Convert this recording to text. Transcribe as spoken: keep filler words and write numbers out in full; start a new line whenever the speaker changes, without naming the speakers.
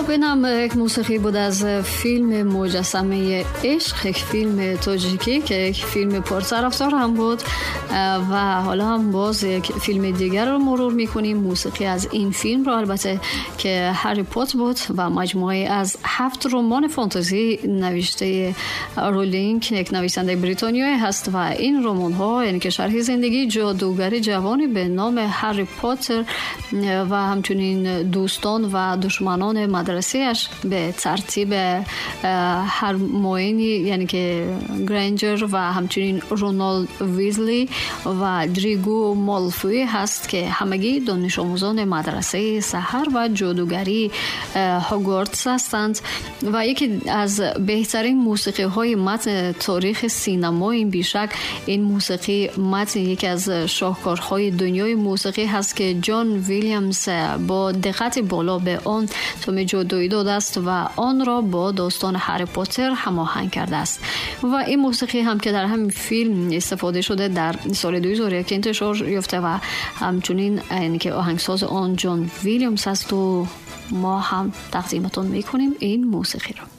خب اینم یک موسیقی بود از فیلم مجسمه عشق، یک فیلم تاجیکی که یک فیلم پرطرفدار هم بود و حالا هم باز یک فیلم دیگر رو مرور میکنیم، موسیقی از این فیلم رو البته که هری پاتر بود و مجموعه از هفت رمان فانتزی نوشته رولینگ، یک نویسنده بریتانیایی هست و این رمان ها یعنی که شرح زندگی جادوگر جوانی به نام هری پاتر و همچنین دوستان و دشمنان مدرسه‌اش به ترتیب هرماینی یعنی که گرینجر و همچنین رونالد ویزلی و دریگو مالفوی هست که همگی دانش آموزان مدرسه سحر و جادوگری هاگوارتس هستند و یکی از بهترین موسیقی های متن تاریخ سینما این بیشک این موسیقی متن یکی از شاهکارهای دنیای موسیقی هست که جان ویلیامز با دقت بالا به آن طعم جادویی داده است و آن را با داستان هری پاتر هماهنگ کرده است و این موسیقی هم که در همین فیلم استفاده شده در سال دو هزار و یک انتشار یافته و همچنین یعنی که آهنگساز آن جان ویلیامز است و ما هم تقدیمتون میکنیم این موسیقی را.